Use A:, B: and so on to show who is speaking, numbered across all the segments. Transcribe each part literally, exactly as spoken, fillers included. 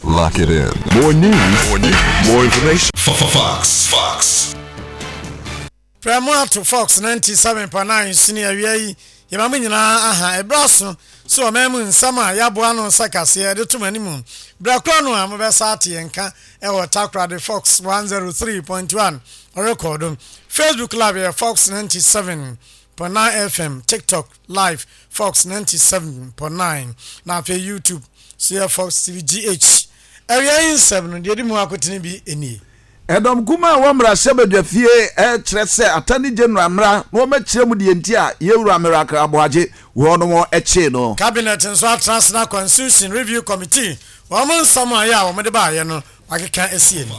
A: Lock it in. More news, more news, more information. Fox. Fox.
B: Prɛmo ato Fox ninety-seven point nine sini awia yi, yɛma mo nyinaa aha. Ɛberɛ so so ɔman mu nsɛm a yɛaboa no nsa kaseɛ de tom anim berɛ korɔ no a mobɛsa ate yɛn ka ɛwɔ Takoradi Fox one oh three point one ɔrekɔdo. Facebook Live yɛ Fox ninety-seven point nine F M, TikTok Live Fox ninety-seven point nine, na afei YouTube so yɛ Fox T V G H. Awia yi nsɛm no deɛ di mu akotene bi nie.
C: Ɛdɔm kuma a wɔmmra hyɛbadwa ɛkyerɛ sɛ Attorney General mmra na wɔmɛkyerɛ mu deɛ nti a yɛwura Miracles Aboagye wɔnom ɛkyee no.
B: Cabinet nso atena ase na Constitution Review Committee wɔn nsɛm a yɛ a wɔde baayɛ no wakeka esie no.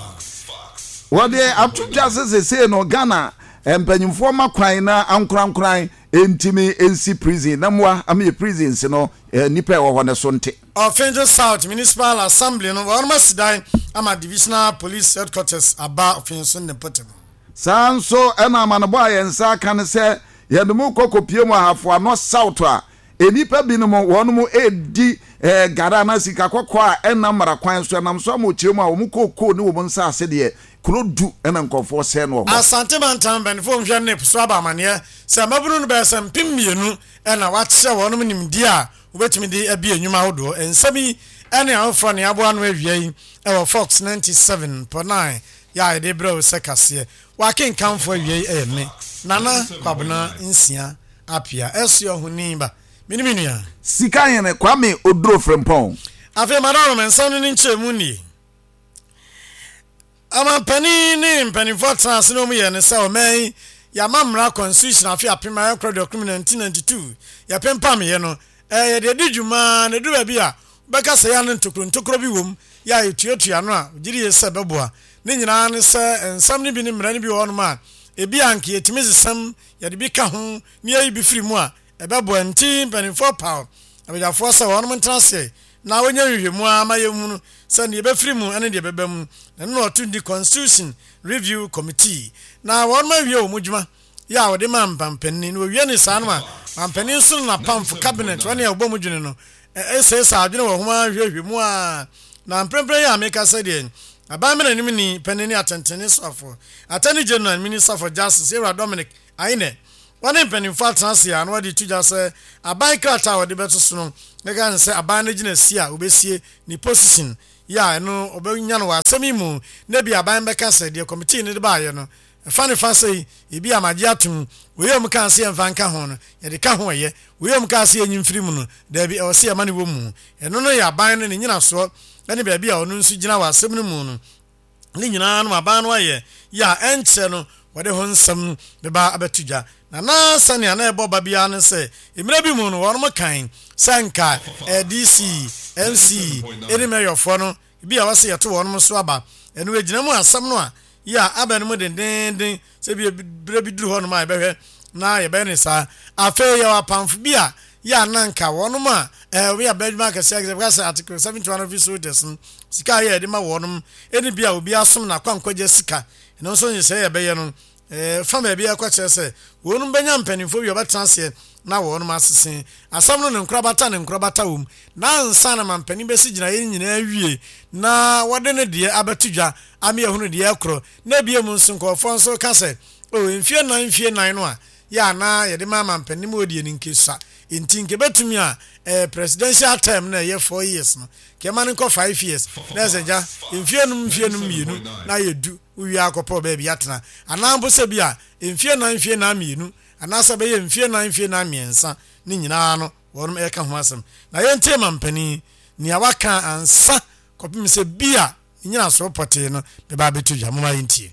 C: Wɔde ato dwa sɛ sesei no Ghana mpanyimfoɔ ma kwan na ankorankoran ntumi nsi prison na mmoa ama yɛ prisons no nnipa ɛwɔ hɔ no so nte.
B: Ɔfenjo South Municipal Assembly no, wɔn asi dan ama Divisional Police Headquarters aba Ɔfenso ne mpɔtam.
C: Saa nso ɛna amanebɔ a yɛn nsa aka no sɛ yɛde mu kɔ kɔpie mu Ahafo Ano South a nnipa binom wɔn edi ɛɛ gara na sika kɔkɔɔ a ɛnam mmara kwan so, ɛnam so ama okyerɛ mu a wɔn kookoo ne wɔn nsa ase deɛ kuro du ɛna nkɔfoɔ sɛɛ no wɔ hɔ.
B: Asante Mantam mpanimfoɔ nhwɛ NIP so aba amaneɛ sɛ mmabunu no bɛyɛ sɛ mpem mmienu ɛna wakyerɛ wɔn nimdeɛ a wobɛtumi de abi nnwuma ahodoɔ. Nsɛm yi ɛne ahofoɔ ne aboa no awia yi ɛwɔ Fox ninety-seven point nine yɛ a yɛde brɛ wo sɛ kaseɛ. Wakenkamfo awia yi ɛyɛ me Nana Kwabena Nsia Apia ɛso ɔhoni ba mene me nua.
C: Sika Hene Kwame Oduro Frempɔn.
B: Afei madam, nsɛm no ne nkyerɛmu nie. Amampanin ne mpanimfoɔ tena ase na wɔn yɛ ne sɛ ɔman yi yɛama mmara constitution afe apem ayɛkorɔ aduokron nineteen ninety-two yɛpempam yɛ no, ɛyɛ yɛde adi dwuma na edu baabi a wobɛka sɛ yɛ ne ntokuro ntokuro bi wɔ mu yɛ a yɛtuatua no a gyiri yɛ sɛ bɛboa ne nyinaa ne sɛ nsɛm no bi ne mmara no bi wɔ hɔnom a ebi a nka yɛtumi sesɛm yɛde bi ka ho ne yɛyi bi firi mu a ɛbɛboa. Nti mpanimfoɔ paw abadwafoɔ sɛ wɔnom ntena ase na wɔnyɛ nhwehwɛmu a ma yɛhunu sɛ deɛ ɛbɛfiri mu ne deɛ ɛbɛba mu na ɛno na ɔto di Constitution Review Committee na wɔnom awie wɔn dwuma yɛ a wɔde ma mpampanin na wɔwie ne saa no a mampanin nso no napamfo cabinet wɔne a wɔbɔ mu dwene no ɛsɛsɛ adwene wɔ ho ahwehwɛ mu a na mprempren yi a meka sɛ deɛ aban mena anim ni panin ne atɛntɛne soafo Attorney General, Minister for Justice, Ewura Dominic Ayine, wɔne mpanimfoɔ atena ase a na wɔde to dwa sɛ aban krataa a wɔde bɛto so no ɛka ne sɛ aban no gyina si a wɔbɛsie ne position yɛ a ɛno ɔbɛnya no wɔ asɛm yi mu na bi aban bɛka sɛ deɛ committee no de baayɛ no ɛfa ne fa sɛ ebi amagye atom wei a wɔn kaa sɛ yɛmfa nka ho no yɛde ka ho, ɛyɛ wei a wɔn kaa sɛ yɛnyi mfiri mu no daabi, ɛwɔ sɛ yɛma no wɔ mu. Ɛno no yɛ aban no ne nyinasoɔ ɛne baabi a ɔno nso gyina wɔ asɛm no mu no ne nyinaa no aban no ayɛ yɛ a ɛnkyerɛ no wɔde ho nsɛm bɛba abɛto dwa. Na na sɛnea na ɛbɔ ba biara no sɛ mmerɛ bi mu no wɔnom kan sɛ nka D C, M C ɛne mɛyɔfoɔ no bi a wɔsɛ yɛto wɔnom so aba. Ɛno egyina mu asɛm no a yɛ a aba no mu dendenden sɛ bi berɛ bi duru hɔnom a yɛbɛhwɛ na yɛbɛyɛ ne saa. Afei yɛwɔ apamfo bi a yɛ a na nka wɔnom a ɛɛ wɔyɛ abɛdwuma akɛseɛ akɛseɛ bɛka sɛ Article seventy one office holders no sika a yɛ yɛde ma wɔnom ɛne bi a obi asom na akwankɔgye sika. Ɛno nso nhyehyɛ yɛbɛyɛ no ɛɛ fa baabi ɛkɔ kyerɛ sɛ wɔnom bɛnya mpanimfoɔ bi a wɔbɛtena aseɛ na wɔnom asese asɛm no ne nkorabata ne nkorabata wɔ mu na ansa na mampanin bɛsi gyinaeɛ nyinaa wie na wɔde ne deɛ abɛto dwa ama yɛhunu deɛ ɛkorɔ. Na ebie mu nso nkɔɔfoɔ nso ka sɛ o mfie nan mfie nan no a yɛ anaa yɛde ma mampanin mu odie no nkesua nti nke bɛtumi a ɛyɛ presidential term na ɛyɛ four years no kɛma no nkɔ five years na ɛsɛ gya mfie num mfie num mmienu na yɛ du wowie akɔpɔ baabi atena, anaa mpo sɛ bi a mfie nan mfie nan mmienu anaasɛ bɛyɛ mfie nan mfie nan mmiɛnsa ne nyinaa no wɔnom ɛka ho asɛm. Na yɛntie mampanin nea waka ansa kɔpem sɛ bi a ne nyinasoɔ pɔtee no bɛba abɛto dwa. Moma yɛntie.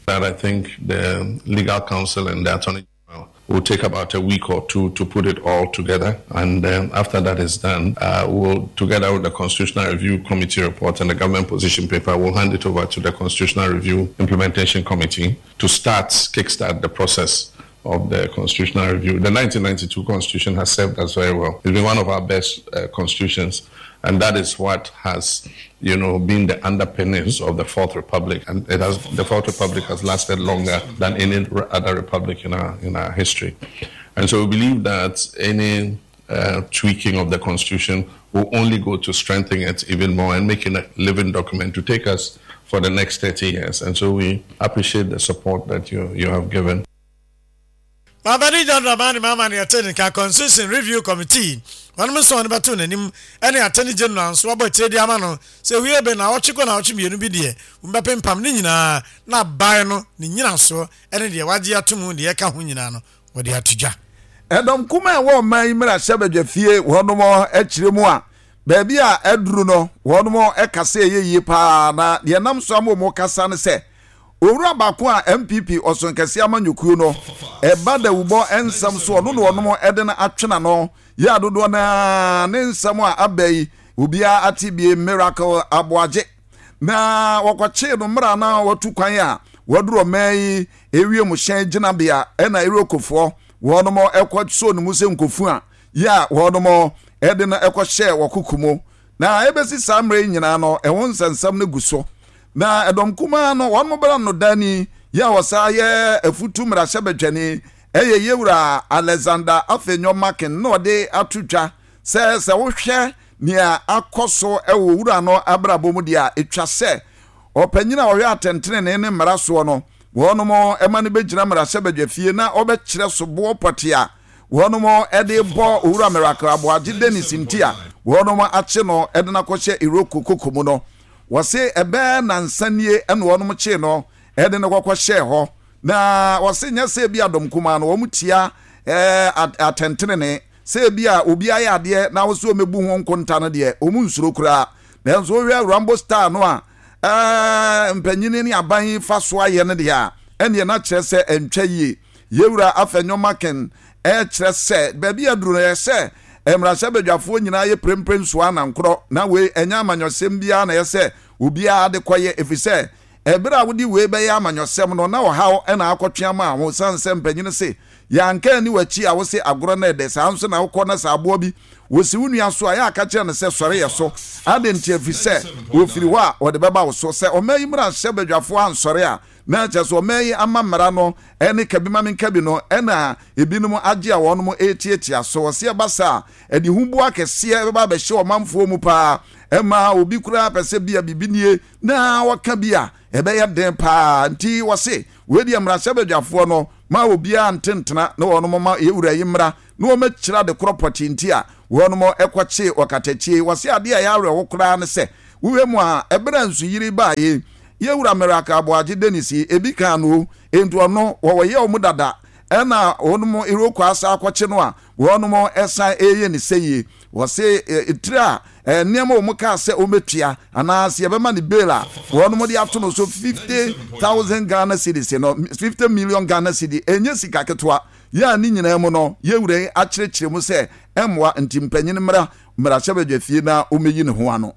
D: That I think the legal counsel and the Attorney General will take about a week or two to put it all together. And then after that is done, uh, we'll, together with the Constitutional Review Committee report and the government position paper, we'll hand it over to the Constitutional Review Implementation Committee to start, kickstart the process of the constitutional review. The nineteen ninety-two constitution has served us very well. It's been one of our best uh, constitutions, and that is what has, you know, been the underpinnings of the Fourth Republic. And it has, the Fourth Republic has lasted longer than any other republic in our in our history. And so we believe that any uh, tweaking of the constitution will only go to strengthen it even more and making a living document to take us for the next thirty years. And so we appreciate the support that you, you have given.
B: Mampanin John Dramani Mahama na yɛte ne nka Constitution Review Committee wɔnom nso wɔn bɛto n'anim ɛne Attorney General nso wɔabɔ akyire de ama no sɛ wie bɛ naawɔtwe kɔ naawɔtwe mmienu bi deɛ wɔbɛpempam ne nyinaa na aban no ne nyinasoɔ ɛne deɛ wagye ato mu deɛ ɛka ho nyinaa no wɔde ato dwa.
C: Ɛdɔm kumaa a ɛwɔ ɔman yi mmarahyɛbadwafie wɔnom akyire mu a baabi a aduru no wɔnom kasa ɛyɛ yie paa na deɛ ɛnam so ama wɔn kasa ne sɛ owura baako a N P P ɔsonkɛseɛ amanyɔkuo no ɛba dawubɔ nsɛm so ɔno na wɔnom ɛde no atwe n'ano yɛ adodoɔ naa ne nsɛm a aba yi obiara ate bie. Miracle Aboagye na wɔkɔkyee no mmerɛ na wɔtu kwan a wɔduru ɔman yi ewiem hyɛn gyinabea ɛna EOCOfoɔ wɔnom ɛkɔ so ne mu sɛ nkofu a yɛ a wɔnom ɛde no ɛkɔhyɛ wɔkoko mu na ɛbɛsi saa mmerɛ yi nyinaa no ɛho nsɛnsɛm no gu so na ɛdɔm kumaa no wɔn bɛrɛ no dani yɛ a wɔsa yɛ afutu mmarahyɛbadwani ɛyɛ yɛwura Alexander Afenyo Markin na ɔde ato dwa sɛ sɛ wohwɛ nea akɔ so ɛwɔ wura no abrabɔ mu deɛ a etwa sɛ ɔpanyin a ɔhwɛ atɛntenene ne mmara soɔ no wɔnom ɛma no bɛgyina mmarahyɛbadwa fie na ɔbɛkyerɛ soboɔ pɔte a wɔnom ɛde bɔ Owura Miracle Aboagye Dennis nti a wɔnom akye no ɛde no akɔhyɛ EOCO koko mu no. Wɔse ɛbɛɛ nansa nie ɛna wɔnom kyee no ɛde no kɔkɔhyɛɛ hɔ na wɔse nyɛ sɛ bi adɔm kumaa no wɔn tia ɛɛ atɛntenene sɛ ebi a obi ayɛ adeɛ na wɔsɛ wɔmɛbu ho nkonta no deɛ wɔn nsuro koraa, nanso wohwɛ Rambo star no a ɛɛ mpanyini ne aban fa so ayɛ no deɛ a ɛneɛ na kyerɛ sɛ ɛntwa yie. Yɛwura Afenyo Markin ɛkyerɛ sɛ baabi aduru no yɛ sɛ mmarahyɛbadwafoɔ nyinaa yɛ prempren nsoa anankorɔ na wei ɛnyɛ amanyɔsɛm biara na yɛ sɛ obiara de kɔyɛ ɛfiri sɛ ɛberɛ a wode wei bɛyɛ amanyɔsɛm no na ɔhaw ɛna akɔtwe ama ho sane sɛ mpanyini se yɛanka ani w'akyi a wose agorɔ no ɛdɛ saa nso na wokɔ na sɛ aboɔ bi wɔsi wo nua so a yɛ aka kyerɛ no sɛ sɔre yɛ so ade nti ɛfiri sɛ wɔfiri hɔ a wɔde bɛba wo so sɛ ɔma yi mmarahyɛ badwafoɔ ansɔre a na kyerɛ sɛ ɔma yi ama mmara no ɛne kabi ma menkabi no ɛna ebinom agye a wɔnom ɛtiatia so. Wɔse ɛba saa ɛde huboa kɛseɛ bɛba abɛhyɛ ɔmanfoɔ mu paa ɛma obi koraa pɛ sɛ bia biribi nie na wɔka bi a ɛbɛyɛ den paa. Nti wɔse wei deɛ mmarahyɛbadwafoɔ no ma obiara ntentena na wɔnom ma yɛwura yi mmra na wɔmɛkyerɛ ade korɔ pɔtee nti a wɔnom ɛkɔkye ɔkatakyie. Wɔse adeɛ a ɛyɛ awerɛho koraa ne sɛ wohwɛ mu a ɛberɛ a nsuyiri baayɛ yɛwura Miracle Aboagye Dennis yi ebi kan no enti ɔno wɔwɔ yɛ ɔmo dada ɛna wɔnom EOCO asa akɔkye no a wɔnom ɛsan ɛyɛ ne sɛ yie. Wɔse etire a nneɛma wɔn kaa sɛ wɔmɛtua anaasɛ yɛbɛma ne bail a wɔnom de ato no so fifty thousand Ghana cedis no, fifty million Ghana cedi ɛnyɛ sika ketewa yɛ a ne nyinaa mu no yɛwura yi akyerɛkyerɛ mu sɛ ɛmmoa nti mpanyin mmra mmarahyɛbadwa fie na wɔmɛyi ne ho ano.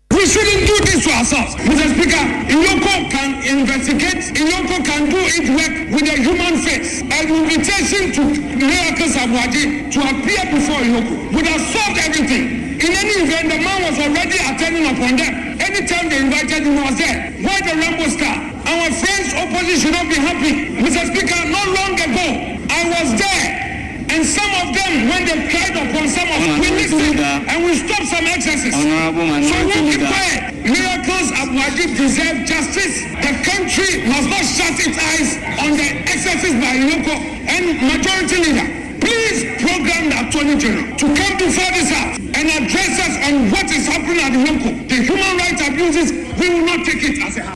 E: We shouldn't do this to ourselves. Mister Speaker, EOCO can investigate, EOCO can do its work with a human face. An invitation to Miracles Aboagye to appear before EOCO would have solved everything. In any event, the man was already attending upon them. Anytime they invited him, he was there. Why the Rambo star? Our friends opposition should not be happy. Mister Speaker, not long ago, I was there. And some of them, when they cried upon some of us, we listened and we stopped some excesses. So we keep quiet. Miracles Aboagye deserve justice. The country must not shut its eyes on the excesses by EOCO and Majority Leader. Please program the Attorney General to come before this House and address us on what is happening at EOCO. The human rights abuses, we will not take it as a house.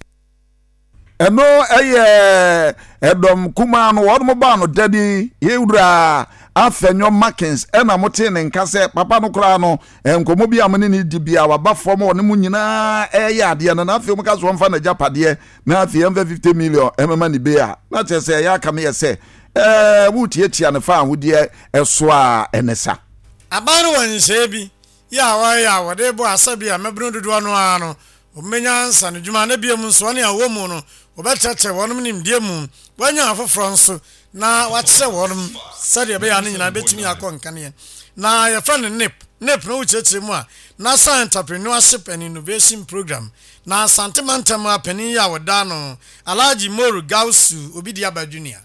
C: Ɛno ɛyɛ ɛdɔm kumaa no wɔn baa no dani yɛwura Afenyo Markins ɛna mote ne nka sɛ papa no koraa no nkɔmmɔ bi a mo ne ne di bia waba fam ɔne mu nyinaa ɛyɛ adeɛ no na afei mo ka so wɔmfa n'agyapadeɛ na afei ɛmfa fifty million ɛmɛma ne be a na kyerɛ sɛ ɛyɛ aka meyɛ sɛ ɛɛ wotiatia ne fa ahodeɛ ɛso a ɛne sa.
B: Aban no wɔ nhyehyɛeɛ bi yɛ a wɔyɛ a wɔde bɔ asa bi a mmabunu dodoɔ no ara no wɔmmɛnya nsa no dwuma na biom nso wɔne a wɔwɔ mu no wɔbɛkyerɛkyerɛ wɔnom nimdeɛ mu wɔanya afoforɔ nso na wɔakyerɛ wɔnom sɛdeɛ ɛbɛyɛ a no nyinaa bɛtumi akɔ nkaneɛ na yɛfrɛ no NEIP. NEIP no wokyerɛkyerɛ mu a National Entrepreneurship and Innovation Program na Asante mantam a panin yi a wɔda no Alhaji Moru Gausu Obi Diaba Junior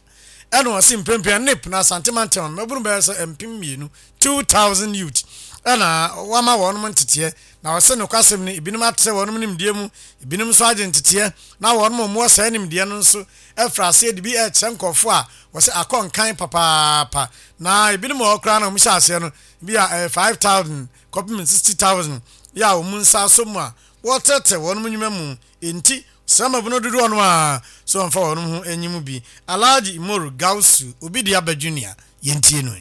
B: ɛna ɔse mprempren NEIP na Asante mantam a mmabunu bɛyɛ sɛ mpem mmienu, two thousand youth Ɛna wama wɔnom nteteɛ na wɔsɛ nokwasɛm no, ebinom atrɛ wɔnom nimdeɛ mu, ebinom nso agye nteteɛ na wɔnom a wɔwɔ saa nimdeɛ no nso afiri aseɛ de bi ɛrekyerɛ nkɔfoɔ a wɔsɛ akɔ nkan papaapa. Na ebinom wɔ hɔ koraa na wɔn hyɛ aseɛ no bi a ɛyɛ five thousand kɔpem sixty thousand yɛ a wɔn nsa asɔ mu a wɔretrɛtrɛ wɔnom nnwuma mu. Enti srama no dodoɔ no a so wɔmfa wɔnom ho anyi mu bi. Alhaji Imoru Gausu Obi de aba Junior, yɛntie no.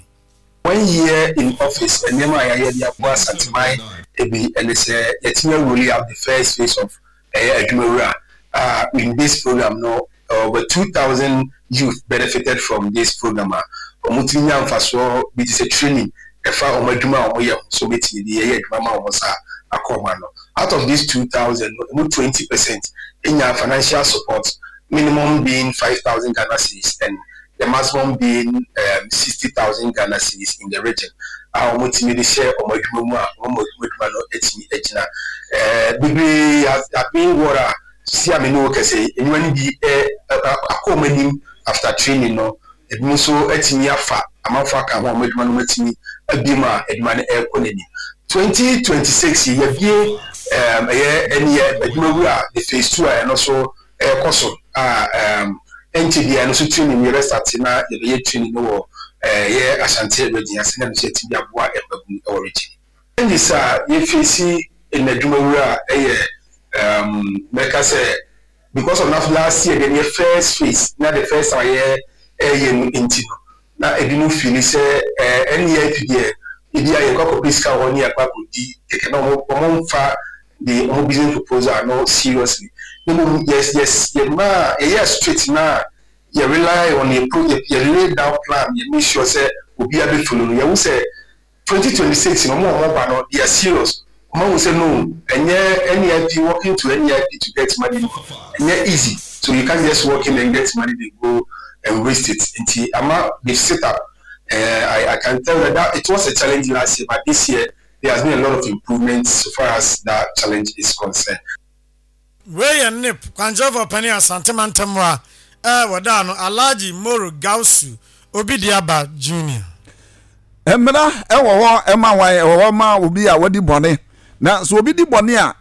F: One year in office, nneɛma a yɛayɛ de aboa Asanteman ebi ɛne sɛ yɛtumi roll out the first phase of ɛyɛ Adwumawura a in this program no, over two thousand youth benefited from this program a wɔn tumi nya mfasoɔ bi te sɛ training ɛfa wɔn adwuma a wɔyɛ ho so wɔbɛtumi de yɛyɛ adwuma ma wɔn nsa akɔ wɔn ano. Out of these two thousand no, emu twenty percent nya financial support, minimum being five thousand Ghana cedis and the maximum being um, sixty thousand Ghana cedis in the region a wɔn tumi de hyɛ wɔn adwuma mu a wɔn adwuma no atumi agyina. ɛɛ bebree abɛn wɔ a si a mene wɔ kɛse nnwuma no bi ɛ akɔ wɔn anim after training no. Ebi nso atumi afa amanfo aka ho a wɔn adwuma no atumi abie mu a adwuma no ɛrekɔ n'anim. Twenty twenty six yi, yɛbie ɛɛm ɛyɛ ɛne yɛ Adwumawura the phase two a ɛno nso ɛrekɔ so a ɛɛm ɛnkyɛ biara no nso training yɛbɛ start na yɛbɛyɛ training no wɔ ɛyɛ Ashanti Region ase na nso yɛtumi aboa mmabunu ɛwɔ region. Challenges a yɛfesi in Adwumawura ɛyɛ um, mɛka sɛ because of na last year deɛ yɛ first phase na the first time yɛ ɛyɛ no nti no, na ebinom feel sɛ ɛɛ N E I P deɛ, ebi a yɛkɔ akɔpɛ sika wɔ hɔ ne yɛkɔ akɔdi kɛkɛ na wɔn wɔn mfa the wɔn business proposal no seriously. Ne mu yes yes yɛ maa yɛyɛ straight na yɛ rely on yɛ pro yɛ yɛ lay down plan, yɛ make sure sɛ obiara bɛ follow no. Yɛhu sɛ twenty twenty six no, wɔn a wɔn ba no, they are serious. Wɔn ahu sɛ no, ɛnyɛ N E I P, working to N E I P to get money no ɛnyɛ easy, so you can't just work in and get money, they go and waste it. Nti ama they sit up. uh, I, I can tell that, that it was a challenge last year, but this year there has been a lot of improvements so far as that challenge is concerned.
B: Wei yɛ N E I P kwankyerɛfoɔ panin Asante mantam a ɛɛ wɔda no, Alhaji Moro Gausu Obi de aba Junior.
C: Mmara ɛwɔ hɔ ɛma wan, ɛwɔ hɔ ma obi a wadi bɔne. Na sɛ obi di bɔne a,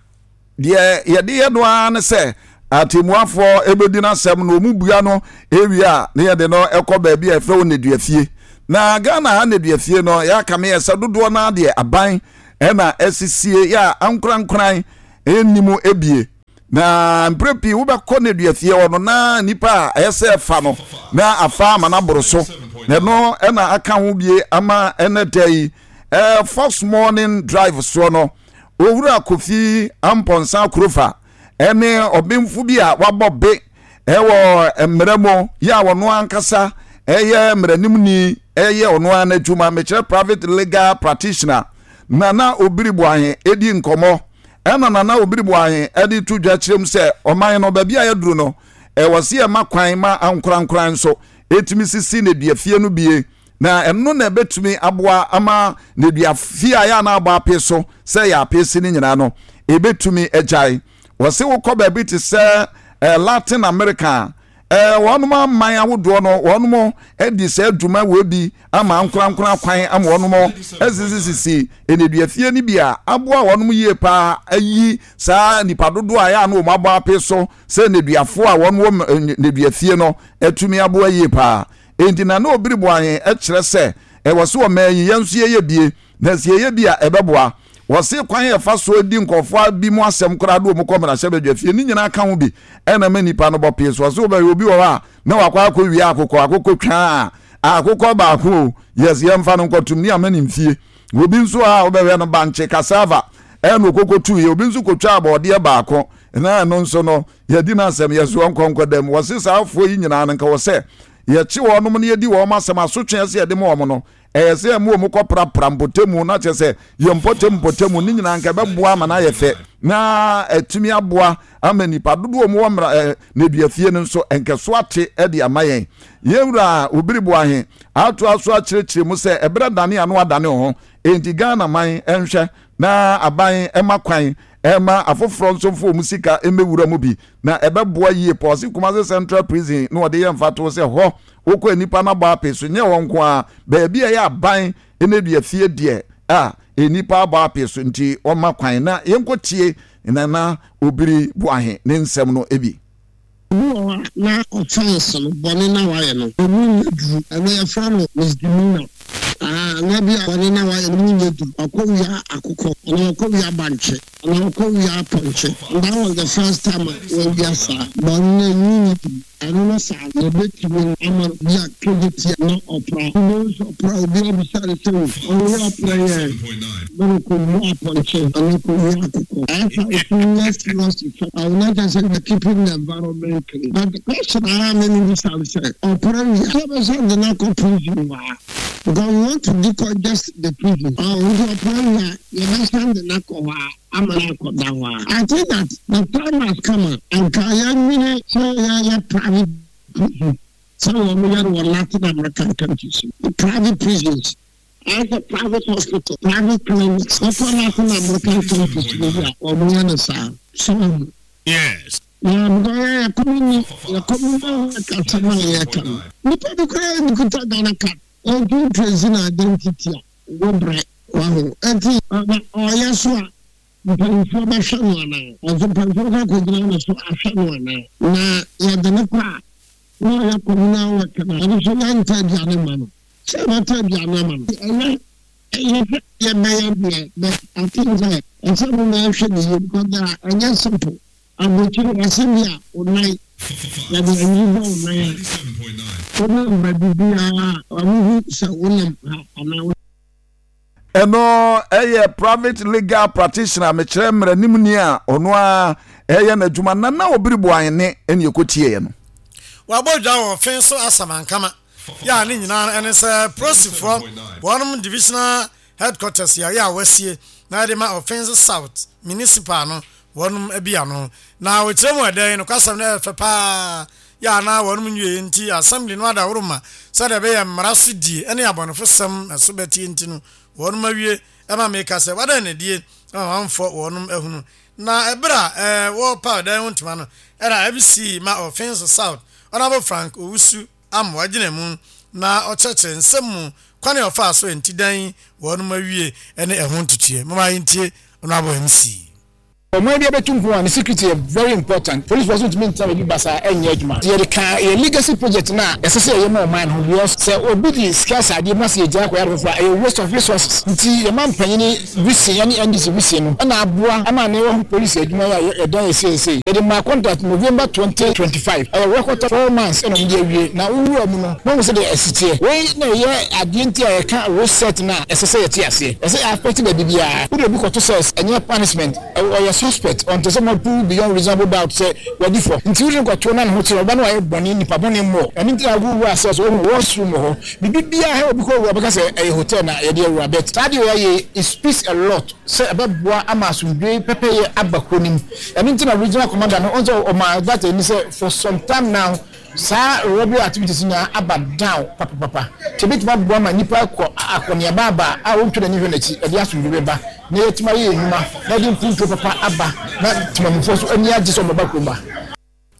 C: deɛ yɛde yɛ no ara ne sɛ atemmuafoɔ ɛbɛdi n'asɛm na ɔmu bua no ewie a, ne yɛde no ɛkɔ baabi a ɛfrɛ wɔ nneduafie. Na Ghana ha nneduafie no, yɛaka me yɛ sɛ dodoɔ no deɛ aban ɛna ɛsisie yɛ a ankorankoran ɛnnim ebie. Na mprɛ pii wobɛkɔ nneduafie hɔ no na nipa a ɛyɛ sɛ ɛfa no na afa ama no aboro so, na ɛno ɛna aka ho bie ama ɛnɛ da yi ɛɛ Fox Morning Drive soɔ no, Owura Kofi Ampɔnsa Kurofa ɛne ɔbɛnfo bi a wabɔ be ɛwɔ mmerɛ mu yɛ a ɔno ankasa ɛyɛ mmeranimni, ɛyɛ ɔno ara n'adwuma, mekyerɛ private legal practitioner, Nana Obiri Boahen, edi nkɔmɔ. Ɛna Nana Obiri Boahen ɛde to dwa kyerɛ mu sɛ ɔman no baabi a yɛduru no, ɛwɔ si ɛma kwan ma ankorankora nso etumi sisi nneduafie no bie, na ɛno na ɛbɛtumi aboa ama nneduafie a yɛ ana abɔ ape so sɛ yɛ ape si no nyinaa no ebɛtumi agyae. Wɔsi wokɔ baabi te sɛ ɛɛ Latin America, ɛɛ wɔnom aman ahodoɔ no, wɔnom adi saa adwuma wɔ bi ama ankorankora kwan ama wɔnom asisisisi nneduafie no bi a aboa wɔnom yie paa ayi saa nipa dodoɔ a yɛ a no wɔn abɔ ape so sɛ nneduafoɔ a wɔn wɔ nneduafie no atumi aboa yie paa. Enti na na Obiri Boahen kyerɛ sɛ ɛwɔ so ɔman yi yɛn nso yɛyɛ bie, na sɛ yɛyɛ bi a ɛbɛboa. Wɔse kwan yɛ fa so di nkɔfoɔ bi mu asɛm koraa de wɔn kɔ mmarahyɛbadwa fie ne nyinaa ka ho bi ɛna ma nipa no bɔ pee so. Ɔse wobɛhwɛ obi wɔ hɔ a na wakɔ akɔ wie akokɔ akokɔ twaa akokɔ baako o, yes, yɛmfa no nkɔtum ne ama ne mfie. Obi nso a wobɛhwɛ no bankye, cassava, ɛna okoko tu yɛ. Obi nso kotwa abɔɔdeɛ baako na ɛno nso no yɛdi n'asɛm yɛ so nkɔnkɔ dɛm. Wɔse saa afoɔ yi nyinaa no, nka wɔ sɛ yɛkye wɔn nom no, yɛdi wɔn asɛm asotwe sɛ yɛde ma wɔn no, ɛyɛ sɛ ɛmu wɔn kɔ prapra mpɔtamu na kyerɛ sɛ yɛ mpɔtamu mpɔtamu ne nyinaa nka ɛbɛboa ama no ayɛ fɛ na ɛtumi aboa ama nipa dodoɔ mu wɔ mmara ɛɛ nneduafie no nso nkɛso ate ɛde ama yɛn. Yɛwura Obiri Boahen atoa so akyerɛkyerɛ mu sɛ ɛberɛ dane ano adane ho, enti Ghana man nhwɛ na aban ɛma kwan ɛma afoforɔ nso mfo wɔn sika mmɛwura mu bi na ɛbɛboa yie pɔ. Ɔse Kumase Central Prison na ɔde yɛ mfatoɔ sɛ hɔ wokɔ nipa no abɔ ape so nyɛ wɔn nko a baabi a ɛyɛ aban nneduafie deɛ a Enipa abɔ ape so nti ɔma kwan na yɛnkɔtie Nana Obiri Boahe ne nsɛm no ebi.
G: Na offense no, bɔne na wayɛ no, emu nyɛ duru. Ɛno yɛfrɛ no misdemeanor. Ah, na bi a bɔne na wayɛ no mu nyɛ duru. Ɔkɔ wia akokɔ anaa ɔkɔ wia bankye anaa ɔkɔ wia apɔnkye, and that was the first time a wɔawia saa bɔne no, emu nyɛ duru. Ɛno no saa yɛbɛtumi ama bi a kegye na ɔpra wobɛhu sɛ ɔpra obi abisa ne sɛ o ɔyɛ ɔpra yɛ bɛne kɔwia apɔnkye anaa kɔwia akokɔ. Ɛyɛ sɛ ɛtumi yɛ serious effect a wɔn akyɛ sɛ we are keeping the environment clean. But the question a me me bisa ne sɛ, ɔpra wia sɛ bɛsɛ de no akɔ prison wɔ ha, because we want to decongest the prison. Ɔ nti ɔpra wia, yɛbɛsan de no akɔ hɔ a ama no akɔda hɔ a, I think that the time has come a anka yɛnwene sɛ yɛyɛ private prison sɛ wɔn yɛ no wɔ Latin American countries. Private prisons ayɛ sɛ private hospital, private clinics. Wɔkɔ Latin American countries no bi a, wɔn yɛ no saa so.
A: Yes.
G: Na because yɛ yɛ community yɛ community kasɛm a yɛka no, nipa bi koraa nkuta Ghana Card ɔntu trace na identity a wɔbrɛ waho. Nti ɔyɛ so a, mpanyinfoɔ bɛhwɛ no anaa? Ɔnso mpanyinfoɔ kɔ akɔgyina no so ahwɛ no anaa? Na yɛde ne kɔ a, na ɔyɛ communal work na ɔno nso yɛntɛ aduane ma no sɛ yɛbɛtɔ aduane ama no. Ɛyɛ ɛyɛ sɛ yɛbɛyɛ deɛ, but I think sɛ ɛsɛ mo na ɛhwɛ ne yie, because ɛnyɛ simple. Aburokyire wɔse bi a wo nan yɛde anyi bɔ wo nan a, wonam baabi biara a, ɔmo hu sɛ wonam ha anaa wo.
C: Ɛno ɛyɛ private legal practitioner, mekyerɛ mmaranim ni a ɔno a ɛyɛ n'adwuma, Nana Obiri Boahene ɛne ɛkɔtieɛ no.
B: Wabɔ dwa wɔ fen so asamankama yɛ a ne nyinaa ɛne sɛ polisifoɔ wɔnom divisional headquarters yɛayɛ a wɔasie na yɛde ma Ɔfenso South Municipal no wɔnom abi ano. Na wɔkyerɛ mu ɛdɛn nokwasɛm no ɛyɛ fɛ paa yɛ a na wɔnom nwie nti assembly no adaworo ma sɛdeɛ ɛbɛyɛ mmara so die ne abɔnefosɛm ɛso bɛtie nti no wɔnom awie. Ɛma meka sɛ wadan nadie ma mamfɔ wɔnom ahunu. Na ɛberɛ a ɛɛ wɔrepa ɔdan ho ntoma no, ɛna M C ma Ɔfenso South, Honorable Frank Owusu Amoa, gyina mu na ɔkyerɛkyerɛ nsɛm mu kwane a ɔfaa so nti dan wɔnom awie ne ɛho ntotoeɛ. Moma yɛntie Honorable M C.
H: Ɔman bi abɛtu mpon a, ne security yɛ very important. Police force ntumi ntena baabi basa ɛnyɛ adwuma. Yɛde ka yɛ legacy project no a ɛsɛ sɛ yɛyɛ ma ɔman no ho, because sɛ obi de sika sɛ adeɛ mu na sɛ yɛgyaa akɔyɛ ade foforɔ a, ɛyɛ waste of resources. Nti yɛma mpanyini vision yɛne N D C vision no ɛna aboa ama ne wɔ police adwuma yi a yɛdan yɛ seesei. Yɛde maa contract November twenty twenty-five, ɛyɛ record four months ɛna ɔmo de awie. Na wowura mu no, mahu sɛ deɛ ɛsi teɛ. Wei na ɛyɛ adeɛ nti a yɛka reset no a ɛsɛ sɛ yɛte aseɛ, ɛsɛ yɛ affect baabi biara. Wode obi kɔto sɛ ɛnyɛ punishment, ɔyɛ suspect, ɔnte sɛ mo prove beyond reasonable doubt sɛ wadi fɔ. Nti wode no kɔto na ne ho kyerɛ ɔba no, wayɛ bɔne, nipa bɔne mmɔ. Ɛno nti na wowura sɛ sɛ wohu washroom wɔ hɔ, biribi biara hɛ, obi kɔ wura bɛka sɛ ɛyɛ hotel na yɛde awura. But saa deɛ wɔyɛ, it speaks a lot sɛ ɛbɛboa ama asomdwe pɛpɛyɛ aba kuro nim. Ɛno nti na regional commander no ɔnso ɔma that ani sɛ for some time now saa robbery activities nyinaa aba down papapapa. Nti ebɛtumi aboa ma nipa kɔ akɔneaba aba a wɔntwa n'ani hwɛ n'akyi, ɛde asomdwe bɛba na yɛtumi ayɛ nnwuma na yɛde mpuntuo papa aba na temamufoɔ so ani agye sɛ ɔmɔba kurom ba.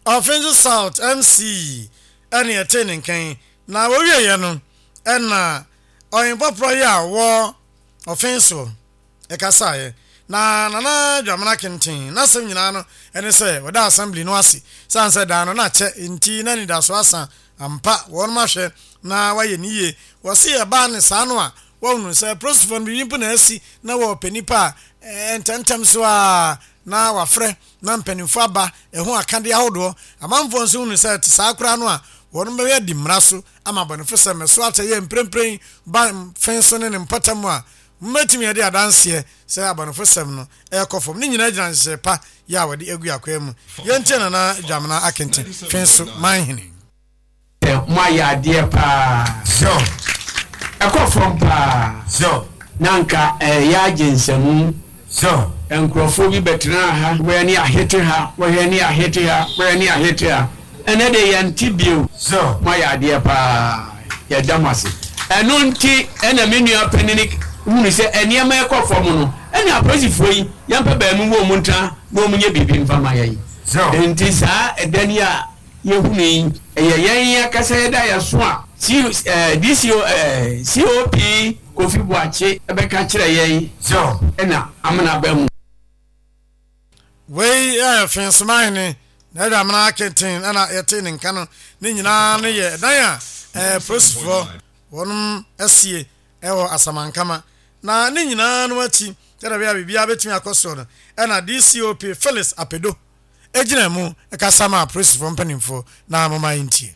B: Ɔfenso South M C ɛne ɛte ne nkan. Na wɔwieɛ no, ɛna ɔhenpɔporɔ yi a wɔ ɔfen so ɛkasaeɛ na Nana Dwamena Kenten n'asɛm nyinaa no ɛne sɛ wɔda assembly no ase sane sɛ dan no na kyɛ nti na anidaso asa ampa wɔnom ahwɛ na wayɛ ne yie. Wɔse ɛbaa ne saa no a wɔhunu sɛ polisifoɔ no biribi mpo na asi na wɔpɛ nipa a ntɛmntɛm so a na wafrɛ na mpanimfoɔ aba ɛho akadeɛ ahodoɔ. Amanfoɔ nso hunu sɛ te saa koraa no a wɔn bɛyɛ di mmara so ama abɔnefo sɛ mɛso akyɛ yɛ mprempren ba fɛn so ne ne mpɔtam a mmɛtumi yɛde adanseɛ sɛ abɔnefo sɛm no ɛrekɔ fam. Ne nyinaa gyina nhyehyɛ pa yɛ a wɔde agu akwan mu. Yɛntie Nana Dwamena Akenten, fɛn so manhene.
I: Mo ayɛ adeɛ paa, ɛkɔ fam paa. Na nka ɛyɛ agye nsɛmu. Nkurɔfoɔ bi bɛtena ha, wɔyɛ ne ahete ha, wɔyɛ ne ahete ha, wɔyɛ ne ahete ha. Ɛnɛ de yɛnte bio. Mo ayɛ adeɛ paa, yɛda mo ase. Ɛno nti ɛna me nua panini hunu sɛ nneɛma ɛkɔ fam no, ɛne apolisifoɔ yi yɛmpɛ baamu wɔ mu ntena na wɔn nyɛ biribi mfa ma yɛn. Nti saa ɛdan yi a yɛhunu yi, ɛyɛ yɛn akasa yɛda yɛ so a C ɛɛ D C O ɛɛ C O P. Kofi Boakye ɛbɛka kyerɛ yɛn ɛna amena ba mu.
B: Wei yɛ Fensomahene na ɛde amena akenten ɛna yɛte ne nka no ne nyinaa no yɛ ɛdan a ɛɛ polisifoɔ wɔnom asie ɛwɔ Asamankama na ne nyinaa no akyi sɛdeɛ ɛbɛyɛ a biribiara bɛtumi akɔ soɔ no ɛna D C O P Phyllis Apedo egyina mu ɛkasa ma apolisifoɔ mpanimfoɔ na moma yɛntie.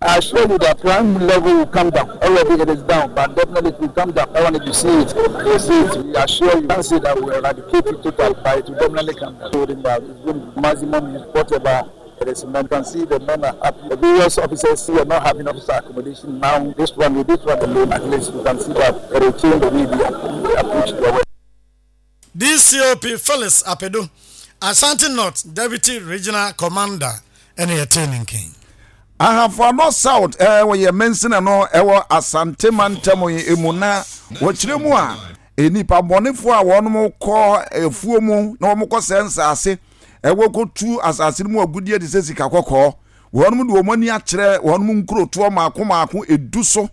J: I assure you that crime level will come down. Already it is down, but definitely it will come down. I want you see it. You see it. We assure you. Can't say that we eradicate it totally, but it will definitely come down. So it's going to maximum use whatever it is. And you can see the men are happy. The various officers here are not having officer accommodation now. This one, with this one alone, at least you can see that it will change the way they approach their work.
B: D C O P Phyllis Apedo, Ashanti North Deputy Regional Commander, ɛne yɛtee ne nkan.
C: Ahafo South ɛɛ wɔyɛ mansina no ɛwɔ Asante mantam yi mu na wɔkyerɛ mu a nipa bɔnefoɔ a wɔn kɔ efuo mu na wɔn kɔ sɛ nsaase ɛwɔ kɔtu asase no mu agudie de sɛ sika kɔkɔɔ, wɔn de wɔn ani akyerɛ wɔn nkurotoɔ maako maako edu so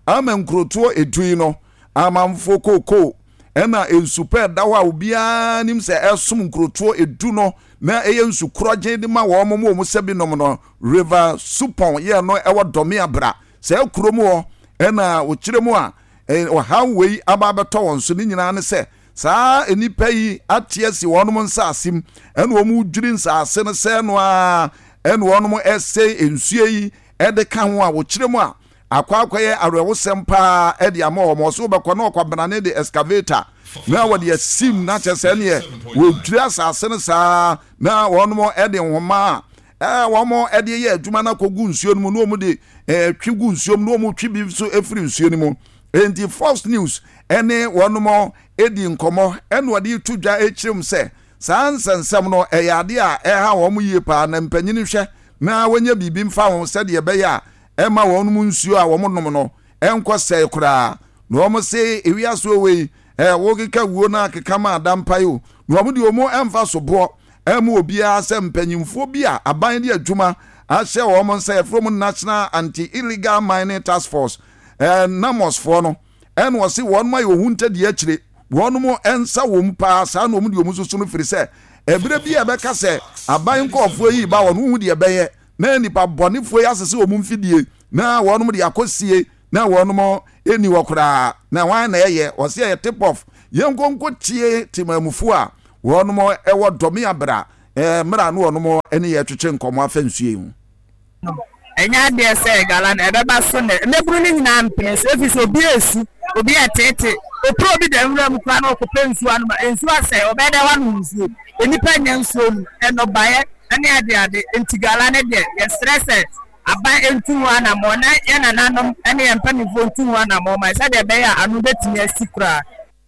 C: ama nkurotoɔ edu yi no amanfoɔ kookoo ɛna nsupɛ ɛda hɔ a obiara nim sɛ ɛsom nkurotoɔ edu no na ɛyɛ nsu korɔgye de ma wɔn mo wɔn sɛ binom no River Supɔn yɛ no ɛwɔ Dɔme Abra sɛ kurom hɔ ɛna wɔkyerɛ mu a ɔhaw wei aba abɛtɔ wɔn so. Ne nyinaa ne sɛ saa nnipa yi ate asi wɔn nsaase mu ɛna wɔn dwiri nsaase no sɛ no a ɛna wɔn ɛsɛ nsuo yi ɛde ka ho a wɔkyerɛ mu a akɔ akɔyɛ awerɛwosɛm paa ɛde ama wɔn. Ɔso bɛkɔ na ɔkwabenane de excavator na wɔde asim na kyerɛ sɛ neɛ wɔdwiri asase no saa na wɔn ɛde nhoma a ɛɛ wɔn ɛde yɛ adwuma no akɔgu nsuo no mu na wɔn de ɛɛ twi gu nsuo mu na wɔn twi bi nso efiri nsuo no mu. Nti Fox News ɛne wɔn edi nkɔmɔ ɛna wɔde to dwa ekyirem sɛ saa nsɛnsɛm no ɛyɛ adeɛ a ɛha wɔn yie paa na mpanyin hwɛ na wɔnyɛ biribi mfa ho sɛdeɛ ɛbɛyɛ a ɛma wɔn mu nsuo a wɔn nom no ɛnkɔ sɛe koraa. Na wɔn se ewiase wei ɛɛ wɔkeka wuo na akeka ma adampa yi o na wɔn de wɔn ɛmfa so boɔ ɛma obiara sɛ mpanyinfoɔ bi a aban de adwuma ahyɛ wɔn nsa yɛfrɛ mu National Anti-Illegal Mining Task Force, ɛɛ NAIMOS foɔ no, ɛna wɔsi wɔn ayɛ ohun ntɛdeɛ akyire wɔn mo nsa wɔm paa saa na wɔn de wɔn soso no firi sɛ ɛberɛ bi a ɛbɛka sɛ aban nkɔɔfoɔ yi ba wɔn ho deɛ ɛbɛyɛ na nipa bɔnefoɔ yi asese wɔn mfidie na wɔn de akɔsie na wɔn ɛni hɔ koraa na wɔn na ɛyɛ wɔsi ɛyɛ tip off. Yɛn nkonko tie temamufoɔ a wɔn ɛwɔ Dɔmi Abra ɛɛ mmerɛ no wɔn ɛne yɛ twetwe nkɔmɔ afɛ nsuo yi ho.
K: Ɛnyɛ adeɛ sɛ gala no ɛbɛba so nɛ mmɛburu no nyinaa mpene so ɛfiri sɛ obi esu, obi ɛtete opuro, obi da nwura mu koraa na ɔkɔpɛ nsuo anom a nsuo asɛ ɔbɛyɛ dɛ wanom nsuo, nnipa nya nsuo mu ɛnɔbaeɛ ɛne ade ade. Nti gala no deɛ, yɛsrɛ sɛ aban ntu ho anammɔ na yɛn nananom ɛne yɛn mpanimfoɔ ntu ho anammɔ ma sɛdeɛ ɛbɛyɛ a ano bɛtumi asi koraa.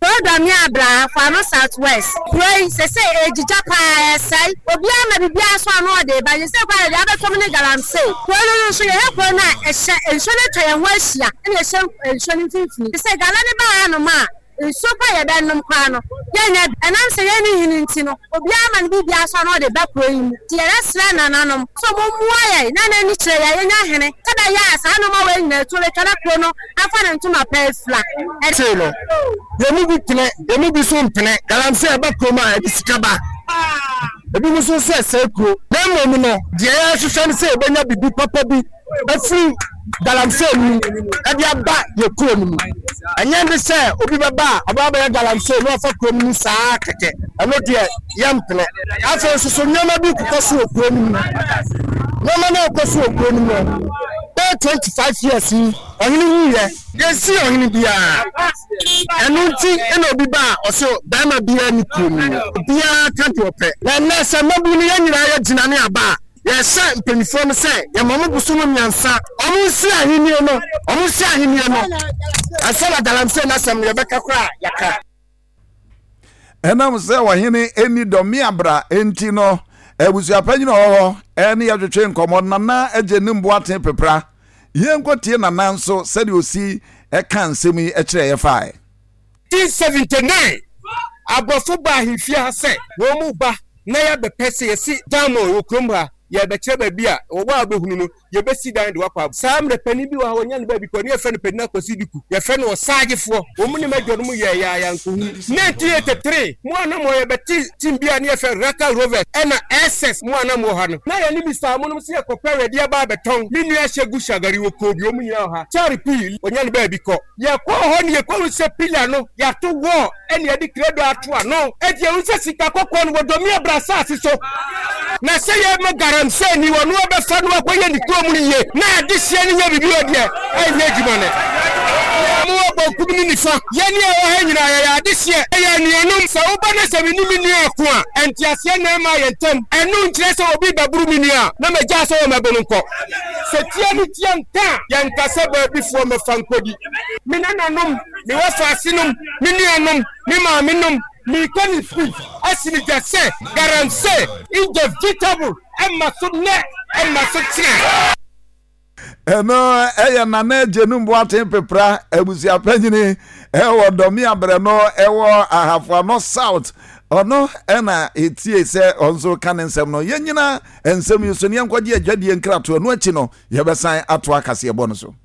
L: Kuro Abra Ahafo South West kuro yi sese egyigya paa, ɛsɛe obiara ma biribiara so ano ɔde ba sese kwan yɛde abɛtɔm ne galamsey. Kuro no no nso yɛhɛ kuro no a ɛhyɛ nsuo no atwa yɛn ho ahyia ɛna ɛhyɛ nsuo no mfimfini sese gala ne baa hanom a nsuo pa yɛbɛnom koraa no yɛnyɛ bi ɛnam sɛ yɛn ne hene nti no obiara ma no biribiara so ano ɔde ba kuro yi mu. Nti yɛbɛsrɛ nananom so mommoa yɛn na n'ani kyerɛ yɛn yɛnya hene sɛbɛyɛ a saa nneɛma wɔ nyinaa tuo bɛtwa na kuro no afa ne ntoma pa afira.
M: Sei no yɛn mu bi pene, yɛn mu bi so mpene. Galamsey ɛba kurom a ɛde sika ba, ebi mu nso sɛ ɛsɛe kuro. Na mmom no deɛ yɛhwehwɛ no sɛ yɛbɛnya bibi papa bi afiri galamsey mu ɛde aba yɛ kuro no mu. Ɛnyɛ ne sɛ obi bɛba a ɔbɛba bɛyɛ galamsey na ɔfa kuro no mu saa kɛkɛ, ɛno deɛ yɛmpene. Afei nso so nneɛma bi kokɔ so wɔ kuro no mu. Nneɛma no a ɛkɔ so wɔ kuro no mu no bɛyɛ twenty five years yi ɔhene wuyɛ, yɛnsi ɔhene biara. Ɛno nti ɛna obi ba a ɔsɛ bɛrima biara ne kuro mu obiara ka deɛ ɔpɛ. Na nnɛ sɛ mmabu no yɛn nyinaa yɛgyina ne aba a yɛhyɛ mpanimfoɔ no sɛ yɛma mo bosom mmiɛnsa ɔmo nsi ahennie no, ɔmo nsi ahennie no ansa na galamsey n'asɛm no yɛbɛka koraa yɛka.
C: Ɛnam sɛ ɔhene ɛni Dɔme Abra enti no abusuapanyin a ɔwɔ hɔ ɛne yɛtwetwe nkɔmmɔ Nana Agye ne Mboaten Pepra. Yɛnkɔtie Nana nso sɛdeɛ osi ɛka nsɛm yi ɛkyerɛ yɛ fae.
M: nineteen seventy-nine aborɔfo ba ahemfie ha sɛ wɔn mu ba na yɛabɛpɛ sɛ yɛsi diamond wɔ kurom ha.
N: Yɛbɛkyerɛ baabi a wɔwɔ a wobɛhunu no, yɛbɛsi dan de wakɔ. Saa mmerɛ panin bi wɔ ha, wɔnya no baabi kɔ ne yɛfrɛ no Panin Akwasi Duku, yɛfrɛ no Ɔsaagyefoɔ. Wɔn ne m'adwa no mu yɛɛ yɛa yɛankɔhu. nineteen eighty-three mo a na mo yɛbɛte team bi a ne yɛfrɛ Raka Rovers ɛna S S, mo a na mo wɔ ha no, na yɛne Mister Amonom sɛ yɛkɔpɛ wɛde aba abɛtɔn. Me nua hyɛ gu Shagari wɔ kɔɔ bi, wɔn nyinaa wɔ ha. Kyare pii wɔnya no baabi kɔ. Yɛkɔɔ hɔ ne yɛkɔhu sɛ pillar no yɛato wall ɛne yɛde credo ato ano. Ɛnti yɛhu sɛ sika kɔkɔɔ no wɔdɔmi abra asase so na sɛ yɛma galamsey ni wɔno wɔbɛfa no akɔyɛ ne kurom no yie na adehyeɛ no nyɛ biribi wɔ deɛ ɛnyɛ adwuma no. Mowɔ bɔnkum ne nifa, yɛne a ɛwɔ ha nyinaa yɛyɛ adehyeɛ, ɛyɛ anuanom. Sɛ woba na sɛ mene me nua ako a, ɛnteaseɛ na ɛma yɛ ntam. Ɛno nkyerɛ sɛ obi bɛboro me nua a na magyaa sɛ wɔ mɛbo no nkɔ. Sɛ tia ne tia nka a, yɛnka sɛ baabifoɔ mɛfa nkɔdi. Me nananom, me wɔfaasenom, me nuanom, me maamenom, meka ne fi asi ne gya sɛ galamsey inevitable, ɛma so nnɛ, ɛma so kyerɛ.
C: Ɛno ɛyɛ Nana Agyenum Boaten Pepra, abusuapanyini ɛwɔ Dɔmi Abrɛ no ɛwɔ Ahafoano South. Ɔno ɛna etie sɛ ɔnso ka ne nsɛm no. Yɛn nyina nsɛm yi so ne yɛnkɔgye adwadie nkratoɔ no akyi no, yɛbɛsan ato akaseɛbɔ no so.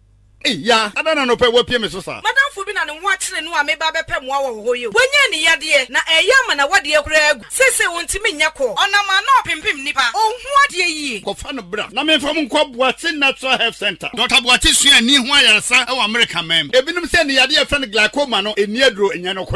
O: Ya ada na nɔpɛ wapie me so saa.
P: Madamfo bi na ne ho akyere no a meba bɛpɛ mmoa wɔ hɔ yi. Wanya ne yadeɛ na ɛyɛ ama na wadeɛ koraa agu. Seesei wɔntumi nyɛ kɔ. Ɔnam ana ɔpempem nipa. Ɔnhu adeɛ yie.
O: Kɔfa no bra na memfa mo nkɔ Boakye Natural Health Center. Doctor Boakye sua ani ho ayaresa wɔ Amerika man mu. Ebinom sɛ ne yadeɛ yɛfrɛ no glaucoma no, ɛnni aduro, ɛnyɛ no.